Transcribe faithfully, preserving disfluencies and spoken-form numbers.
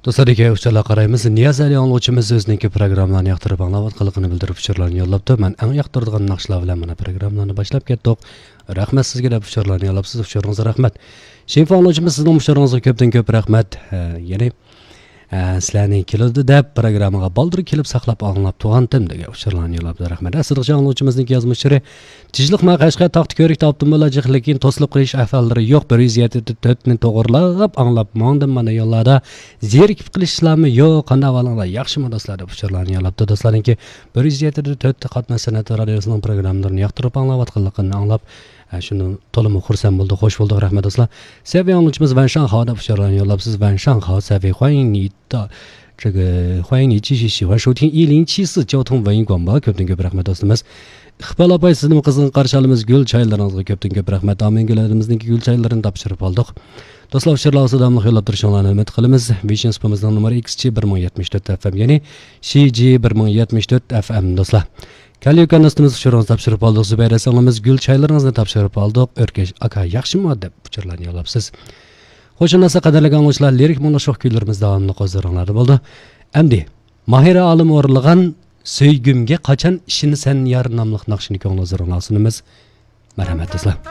دوستلار، ئۇچۇرلارغا قارايمىز. نىياز ئەلى ئاڭلىغۇچىمىز ئۆزىنىڭكى پروگراممىلارنى ياقتۇرۇپ ئاڭلاۋاتقانلىقىنى بىلدۈرۈپ ئۇچۇرلارنى يوللاپتۇ. مەن ئەڭ ياقتۇرىدىغان ناخشىلار بىلەن مانا پروگراممىلارنى باشلاپ كەتتۇق. رەھمەت سىزگە دەپ ئۇچۇرلارنى يوللاپسىز. ئۇچۇرىڭىزغا رەھمەت. شېرىپ ئاڭلىغۇچىمىز، سىزنىڭ ئۇچۇرىڭىزغا كۆپتىن كۆپ رەھمەت. ئە، يەنى، ئە، سىلەرنى كېلىدۇ دەپ پروگراممىغا بالدۇر كېلىپ ساقلاپ ئاڭلاپ تۇرغانتىم دېگەن ئۇچۇرلارنى يوللاپتۇ. رەھمەت. ئەسلىدىكى ئاڭلىغۇچىمىزنىڭكى يازما ئۇچۇرى. تىنچلىق ما قەشقەر تاختا كۆرۈكتە ئاپتوموبىللار جىق، لېكىن توسۇلۇپ قېلىش ئەھۋاللىرى يوق. بىر يۈز يەتتە تۆتنى توغرىلاپ ئاڭلاپ ماڭدىم مانا يوللاردا. زېرىكىپ قېلىشلارمۇ يوق. قانداق ئەھۋالىڭلار؟ ياخشىمۇ دوستلار دەپ ئۇچۇرلارنى يوللاپتۇ. دوستلارنىڭكى بىر يۈز يەتتە تۆت قاتناش سەنئەت رادىيوسىنىڭ پروگراممىلىرىنى ياقتۇرۇپ ئاڭلاۋاتقانلىقىنى ئاڭلاپ، ئە، شۇنى تولىمۇ خۇرسەن بولدۇق، خوش بولدۇق، رەھمەت دوستلار. سەۋىي ئاڭلىغۇچىمىز ۋەنشاڭخاۋ دەپ ئۇچۇرلارنى يوللاپسىز. ۋەنشاڭخاۋ، سەۋىي، خۇەينى تا-، 这个欢迎你继续喜欢收听一零七四交通文艺广播 كۆپتىن كۆپ رەھمەت دوستىمىز. ئىقبال ئاپاي، سىزنىمۇ قىزغىن قارشى ئالىمىز. گۈل چايلىرىڭىزغا كۆپتىن كۆپ رەھمەت. ئامىنگۈل ھەدىمىزنىڭكى گۈل چايلىرىنى تاپشۇرۇپ ئالدۇق. دوستلار، ئۇچۇرلارغا داۋاملىق يوللاپ تۇرۇشۇڭلارنى ئۈمىد قىلىمىز. ۋىشىن سۇپىمىزنىڭ نومۇرى ئىكس جى بىر مىڭ يەتمىش تۆت ئەف ئەم، يەنى سى جى بىر مىڭ يەتمىش تۆت ئەف ئەم دوستلار. كەليۇكان دوستىمىز، ئۇچۇرىڭىزنى تاپشۇرۇپ ئالدۇق. زۇبەيدە سىڭلىمىز، گۈل چايلىرىڭىزنى تاپشۇرۇپ ئالدۇق. ئۆركەش ئاكا ياخشىمۇ دەپ ئۇچۇرلارنى يوللاپسىز. خوش ئاڭلىسا، قەدىرلىك ئاڭلىغۇچىلار، لىرىك مۇڭلۇق شوخ كۈيلىرىمىز داۋاملىق ھۇزۇرۇڭلاردا بولىدۇ. ئەمدى ماھىرە ئالىم ئورۇنلىغان سۆيگۈمگە قاچان ئىشىنىسەن يار ناملىق ناخشىنى كۆڭۈل ھۇزۇرۇڭلارغا سۇنىمىز. مەرھەمەت دوستلار.